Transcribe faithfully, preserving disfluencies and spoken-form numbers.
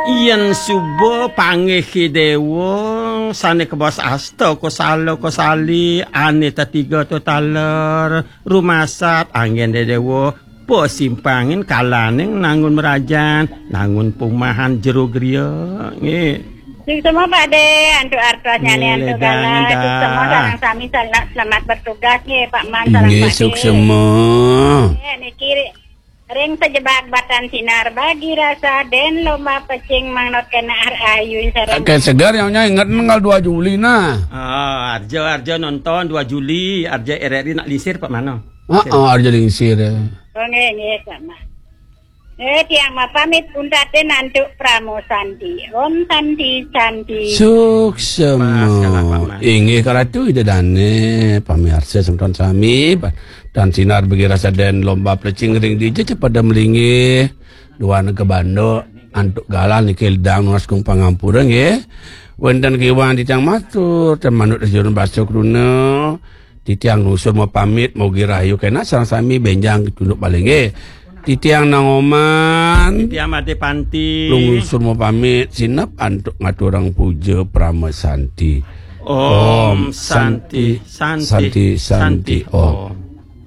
Yen suba panggih Dewa, sane kebos asta kosala kosali, ane tetiga to taler, rumasat anggen Dewa, pasimpangin kalaning nangun merajan, nangun pumahan jero griya. Nggih. Suksma Pak De, antuk artosnyane, antuk galah, suksma sareng sami sel-, selamat bertugas nggih, Pak Man, sareng Pak De. Suksma. Nggih, niki ring sajebag batan sinar bagi rasa den lomba pecing mangnot kena ar ayu sareng. Ken segar yang nyai inget nanggal dua Juli nah. Ah, arja, arja nonton dua Juli, arja R R I nak lingsir Pak Mano. Ah, ah, arja lingsir, ya. Oh, nggih, nggih, sama. Eh, tiang mapamit untatin antuk Pramo Santi. Om Santi, Santi. Suksma. Mas, kalah, Pak Mas. Inggih karatu Ida Dane, pamirsa semeton sami, dan sinar bagi rasa den lomba plecing ring dija pada melinggih. Duan ke banduk, antuk galah niki ledang nunas kung pangampura nggih. Wenten kiwan titiang matur, ten manut jurun basa kruna. Titiang nusur mapamit, mogi rahayu kena sareng sami benjang tunduk balik nggih. Titiang Nangoman. Titiang Made Panti. Nusur mapamit, sinep antuk ngaturang puja Prama Santi. Om Santi, Santi, Santi, Santi, Om.